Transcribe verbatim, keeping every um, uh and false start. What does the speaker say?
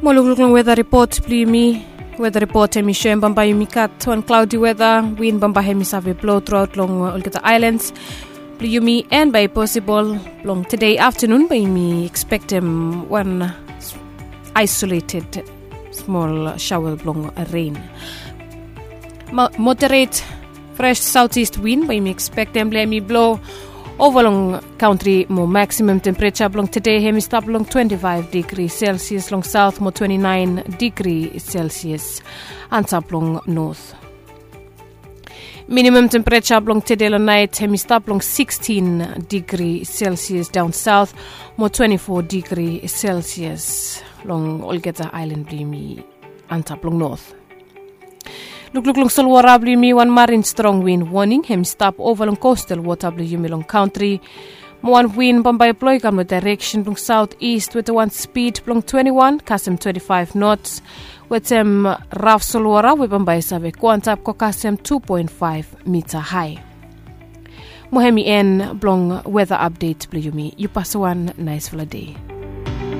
Mo lukluk long weda ripot blong yumi. Weda ripot hem i soem bambae yumi gat wan klaodi weda, win bambae hem i save blo truaot long olgeta aelans blong yumi, en bae i posibol blong tede aftanun bae yumi ekspektem wan aisoleted smol saoa blong ren. Moderet fres saotis win bae yumi ekspektem blong hem i blo ova long kantri. Mo maksimam tempereja blong tede hem i stap long twenti faef digri selsias long saot mo twenti naen digri selsias antap long not. Minimam tempereja blong tede long naet hem i stap long sikstin digri selsias daon saot mo twenti fo digri selsias long olgeta aelan blong yumi antap long not. Lukluk long solwara blong yumi, wan marin strong win woning hem i stap ova long kostal wota blong yumi long kantri. Mo wan win bambae i blo i kam long daereksen blong saot ist weta wan spid blong twenti wan kasem twenti faef nots, wetem raf solwara we bambae i save go antap go kasem tu poen faef mita hae. Mo hem i en blong weda apdet blong yumi. Yu pasim wan naesfala dei.